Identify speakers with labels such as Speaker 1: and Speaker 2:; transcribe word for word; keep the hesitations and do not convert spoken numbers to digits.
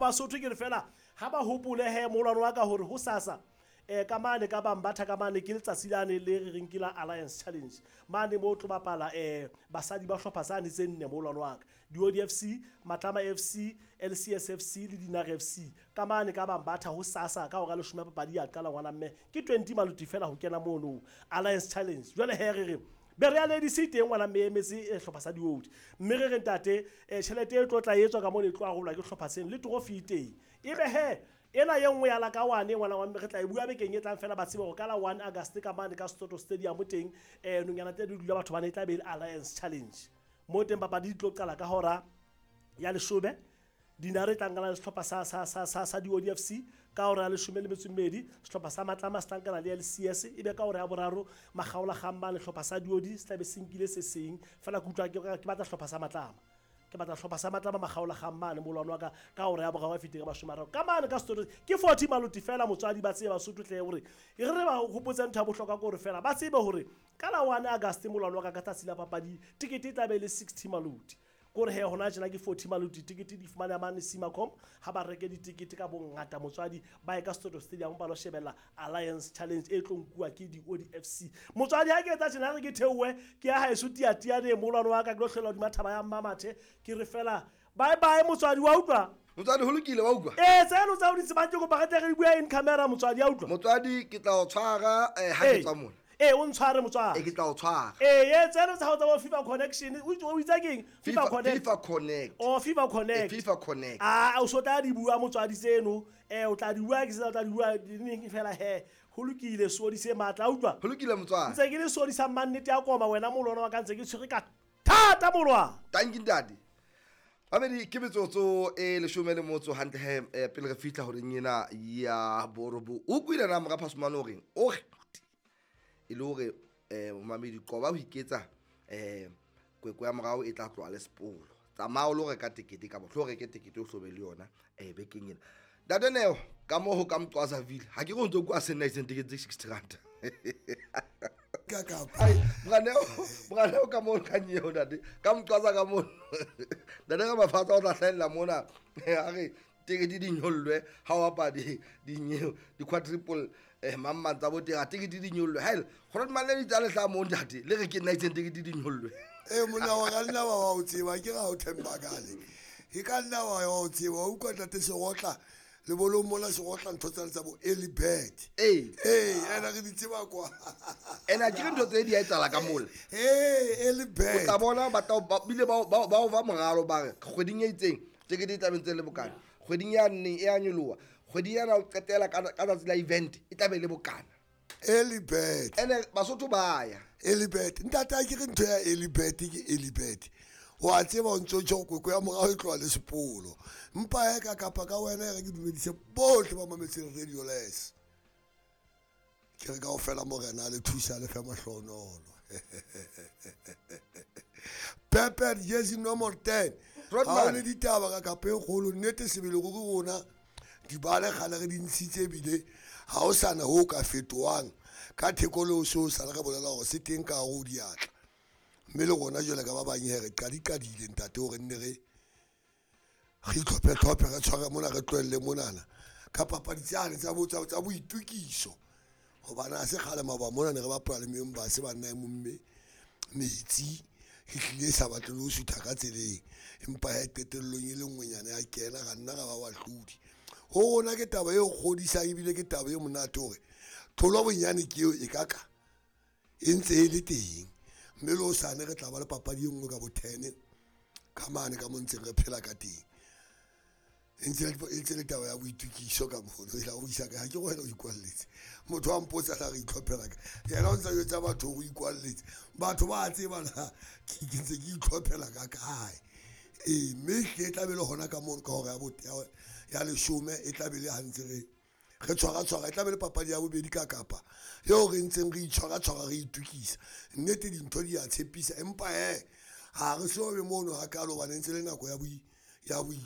Speaker 1: Basotho ke re fela ha ba hopole he molwano wa ka hore ho sasa eh ka mane ka Bambatha ka mane ke letsatsi lane le re reng ke la Alliance Challenge mane mo tlo bapala eh basadi ba hlopha tsane tse nne molwano wa ka di F C, Matlama F C, L C S F C le Dinare F C ka mane ka Bambatha ho sasa ka hora leshome papadi ya qala ngwana mme ke twenty maluti fela ho kena mono Alliance Challenge. Jwale he re re Berea Ladies e teng ngwana mme emetse hlopha sa Diodi mme re re ntate tjhelete e tlo tla etswa ka mona e tlo arolwa ke hlopha seno le trophy e teng ebe he ena ye nngwe ya la ka wane ngwana wa mme re tla e bua bekeng e tlang fela ba tsebe hore ka la one August ka mane ka Soto Stadium teng eh nonyana tse di dula batho bana e tla be le Alliance Challenge mo teng papadi di tlo qala ka hora ya leshome Dinare tla nkana le sehlopha sa sa sa sa sa Diodi F C ka hora ya leshome le metso e mmedi sehlopha sa Matlama se tla nkana le L C S ebe ka hora ya boraro Makgaola Kgamba le sehlopha sa Diodi se tla be se nkile se seng fela ke utlwa ke batla sehlopha sa Matlama ke batla sehlopha sa Matlama Makgaola Kgamba le molwano wa ka ka hora ya boraro e fetile ka mashome a mararo ka mane ka Soto ke forty maluti fela motswadi ba tsebe Basotho tle hore e re ba hopotse ntho ya bohlokwa ke hore fela ba tsebe hore ka la one August molwano wa ka ka tsatsi la papadi tikete e tla be le sixty maluti kore he hona tjena ke forty maluti tikete di fumana mane Simacom ha ba reke ditikete ka bongata motswadi ba ye ka Soto Stadium ba lo shebella Alliance Challenge e tlo nkuwa ke Diodi F C. Motswadi ha ke etsa tjena re ke theohe ke ya haeso tiatiane molwano wa ka ke lo hlola hodima thaba ya Mmamathe ke re fela bye bye motswadi wa utlwa
Speaker 2: motswadi ho lokile wa utlwa
Speaker 1: eh tseno tsa o di tsebang ke kopa re tle re bua in camera motswadi ya utlwa
Speaker 2: motswadi ke tla o tshwara eh ha ke tswa mona
Speaker 1: eh o ntshware motswadi
Speaker 2: e ke tla o tshwara
Speaker 1: eh ye tseno tsa hao tsa bo FIFA Connection o itsa keng FIFA Connect
Speaker 2: FIFA Connect
Speaker 1: oh FIFA Connect
Speaker 2: FIFA Connect
Speaker 1: ah o so tla di bua motswadi tseno eh o tla di bua ke tla di bua neng fela he ho lokile sodi se matla utlwa
Speaker 2: ho lokile motswadi
Speaker 1: ntse ke le sodi sa mannete ya koma wena molwana wa ka ntse ke tshwere ka thata molwana
Speaker 2: thank you ntate Babedi ke metsotso e leshome le motso hantle he pele re fihla horeng ena ya borobo o kwile na mora Phasumane o reng o re e le hore eh momamedi qoba ho iketsa eh kwekwe ya morao e tla tloha le sepolo tsamaya o lo reka tekete ka bohlo reke tekete o hlobe le yona eh bekeng ena Ntate Neo ka moo ho ka Mqwazaville ha ke re o ntso kwa se nna itseng tekete tse sixty rand
Speaker 3: ka kapa
Speaker 2: ai Moraneo Moraneo ka moo ka nyeo ntate ka Mqwaza ka moo ntate ka mafatsa o tla hlahella mona a re tekete di nyollwe ha o bapadi di nyeo di quadruple eh mamma tsa bo teng a tekete di nyollwe haele gore mane di tsa lehla mo ntate le re ke nna itseng tekete di nyollwe
Speaker 3: eh monna wa ka nna wa o tseba ke ga o themba kale e ka nna wa o tseba o utlwa ntate Segotla le bolong mona Segotla ntho tsa tsa bo early bird
Speaker 2: eh
Speaker 3: eh ena re di tseba kwa
Speaker 2: ena ke ntho tse di a etsala ka mola
Speaker 3: eh early bird
Speaker 2: o tla bona ba bile ba ba ba moralo ba re kgweding e itseng tekete e tla be ntse le bokana kgweding ya nne e a nyoloha kgweding yana o qetela ka tsatsi la event e tla be le bokana
Speaker 3: early bird
Speaker 2: ene Basotho ba ya
Speaker 3: early bird ntate a ke re ntho ya early bird ke early bird wa tseba o ntso tjho kwekwe ya morao e tloha le sepolo mpa ya ka kapa ka wena re ke dumedise bohle ba mametseng Radio Les ke re kaofela morena le thusa le fe mahlonolo Pepper jersey number ten ha o le ditaba ka kapa e kgolo nnete sebele go rona dibale kgale re di ntshitse ebile ha o sana ho ka fetohang ka theko le o so sa re bolela hore se teng ka hare ho diatla mme le rona jwale ka ba bang he re qadiqadile ntate hore nne re re itlhophe-tlhophe re tshware mona re tlohelle monana ka papadi tsane tsa bo tsa boitokiso hobane ha se kgale maoba mona ne re bapala le members banna e momme metsi e hlile sa batle le ho sutha ka tseleng empa he qetellong e le nngwenyana ya kena ra nna ra ba bahlodi ho rona ke taba e kgodisang ebile ke taba e monate hore tlholo bonyane ke eo e ka ka e ntse e le teng mme le hosane re tla ba le papadi e nngwe ka bo ten ka mane ka mo ntseng re phela ka teng e ntse le taba ya boitokiso ka mono e la o isa ka ha ke go wena o ikwalletse motho wa mpotsa la re itlhophela ka yena o ntsa jwetsa batho o ikwalletse batho ba tseba na ke ntse ke itlhophela ka kae ee mme e tla be le hona ka mono ka hora ya ya leshome e tla be le ha ntse re re tshwara tshwara e tla be le papadi ya bobedi ka kapa eo re ntseng re itshwara tshwara re itokisa nnete dintho di a tshepisa empa he ha re so be mono hakalo hobane ntse le nako ya boi ya boi